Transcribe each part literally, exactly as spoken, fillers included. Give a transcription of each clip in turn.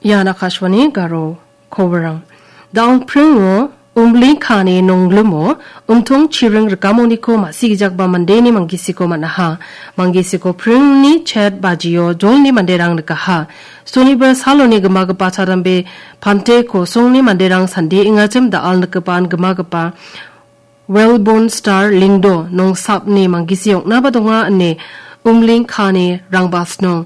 Ian Akashvani Garo koborang. Dal pringo Umling kani nonglimo umtong chiring rikamoniko ma·sigijakba mandeni manggisiko man·aha. Manggisiko pringni chet bajio jolni manderang nikaha. Sonibar saloni gimagipa chadambe pante kosongni manderang sande ingachim da·al nikgipan gimagipa Wellborn Star Lingdo nongsapni manggisi ong·naba donga ine Umling kani rangbasnong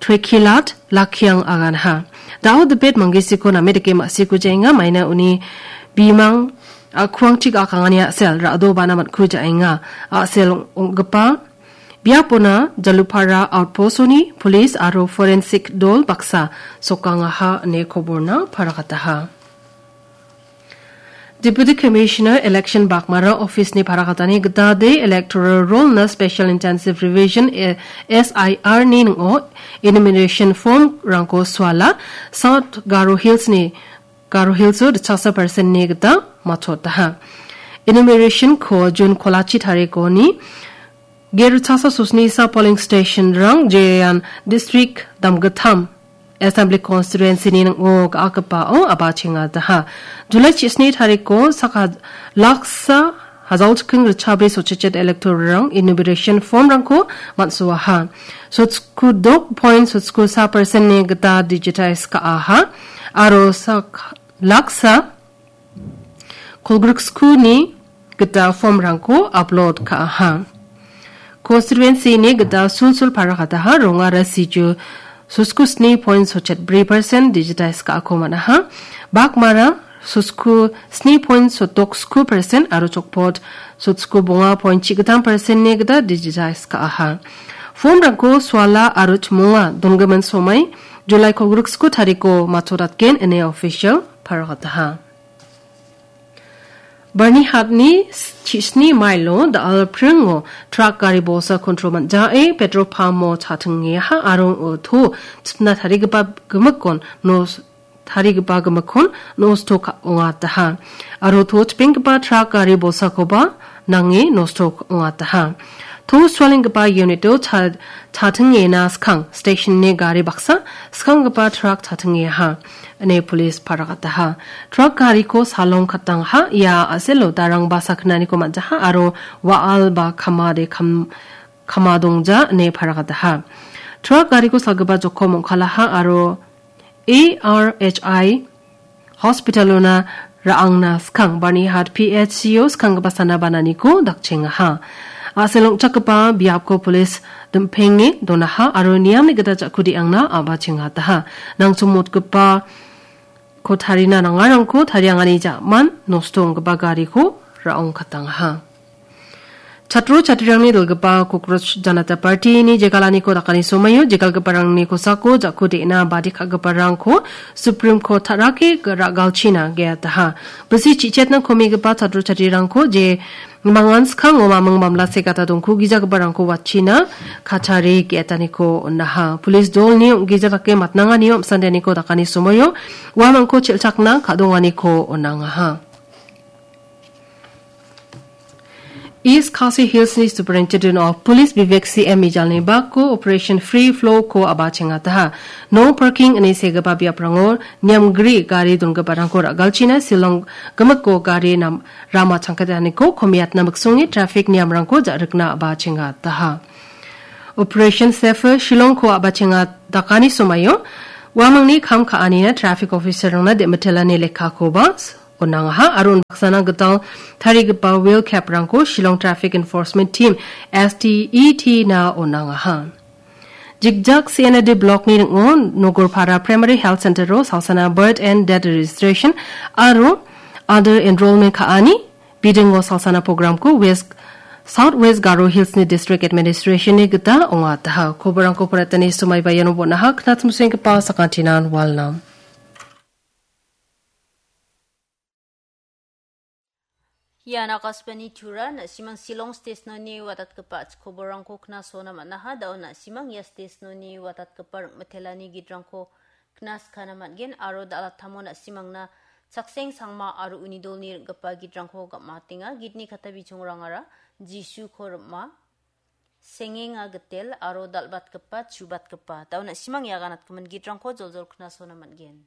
Trekilat Lakiang aganha. Dao dipet manggisiko name dake ma·siko jaenga, maina uni bimang a·kuangchi ga·akangani a·sel ra·dobana man·ku jaenga. A·sel ong·gipa biapona Jalupara outpost-oni police aro forensic dol baksa sokangaha ine koborna paragataha. Deputy Commissioner Election Baghmara Office-ni paragatani gita de electoral roll-na Special Intensive Revision, eh, S I R-ni ning·o enumeration form-rangko suala South Garo Hills-ni, Garo Hills-o ritchaksa percent-ni gita matchotaha. Enumeration-ko June kolachi tarikoni Geru chasa sosnisa polling station-rang jerean district damgittam assembly constituency-ni ning·o ga·akgipao aba chengataha. July chisni tariko saka laksa hajalchking ritchabri sochichet elector-rang enumeration form-rangko man·soaha. Sotsku dok point sotsku sa percent-ni gita digitize ka·aha. Aro sak laksa kolgriksku ni gita form-rangko upload ka·aha. Constituency-ni gita sulsul paragataha rongara siju sosku sni point sochet bri percent digitize ka·ako man·aha. Baghmara sosku sni point sotok sku percent aro Chokpot sosku bonga point chigittam percent-ni gita digitize ka·aha. Form-rangko suala aro chimonga donggimin somai July kolgriksku tariko matchodatgen ine official paragataha. Barnihatni chisni mailo da·al pringo truck gari bolsa kontrol man·jae petrol pump-o cha·tingeha aro to chipna tarigipa gimikkon nos-, tarigipa gimikkon nosto ka-, ongataha. Aro to chipenggipa truck gari bolsakoba nange nosto ongataha. To sualenggipa unit-o cha-, cha·tingena skang station-ni gari baksa, skanggipa truck cha·tingeha, ine police paragataha. Truck gariko salong katangha, ia a·selo darangba sakgnaniko man·jaha aro wa·al ba kamade kam-, kamadongja, ine paragataha. Truck gariko salgipa jokom ong·kalaha aro A R H I hospital-ona ra·angna skang Barnihat P H C-o skanggipa sana bananiko dakchengaha. A·sel ong·chakgipa biapko polis dim·penge donaha aro niamni gita ja·ku de·angna a·bachengataha. Nangchomotgipa ko tarina nangarangko tariangani ja·man nosto ong·gipa gariko ra·ong katangaha. Chatro chatrirangni dilgipa Cockroach Janata Party-ni jegalaniko dakani somaio jegalgiparangni kosako ja·ku de·na badi ka·giparangko Supreme Court ta·rake ra·galchina ge·ataha. Bisi chi·chetna komigipa chatro chatrirangko je mangan skango maming mamla segata dongku gijagiparangko watchina kachari ge·etaniko on·aha. Police dolni ong·gija dake matnanganio am·sandeniko dakani somaio uamangko chel·chakna ka·donganiko on·angaha. East Khasi Hills-ni Superintendent of Police Vivek C M Mijalni bako Operation Free Flow-ko a·bachengataha. No parking ine segipa biaprango niamgri gari dongiparangko ra·galchina Shillong gimikko gari nam-, rama changkataniko komiatna miksonge traffic niamrangko ja·rikna a·bachengataha. Operation Safe Shillong-ko a·bachenga dakani somaio uamangni kam ka·anina traffic officer-rangna de·mitelani lekkakoba on·angaha aro unbaksana gital tarigipa wheel cap-rangko Shillong Traffic Enforcement Team, S T E T-na on·angaha. Jigjak C N A D block-ni ning·o Nogorpara Primary Health Center-o salsana birth and death registration aro other enrollment ka·ani bidingo salsana program-ko West, South West Garo Hills-ni District Administration-ni gita ong·ataha. Koborangko poretani somaiba iano bon·aha, knatmsenggipa sakantinan walnam. Ian Akashvani Tura, na·simang Shillong Station-oni watatgipa koborangko knasona man·aha. Da·o na·simang ia station-oni watatgipa ring·mitelani gitrangko knaskana man·gen aro dal·atamo na·simangna Chakseng Sangma aro uni dolni ring·gipa gitrangko gam·atenga. Gitni kata bichongrangara Jisuko rim·a. Sengenga gitel aro dal·batgipa, chubatgipa. Da·o na·simang ia ganatgimin gitrangko joljol knasona man·gen.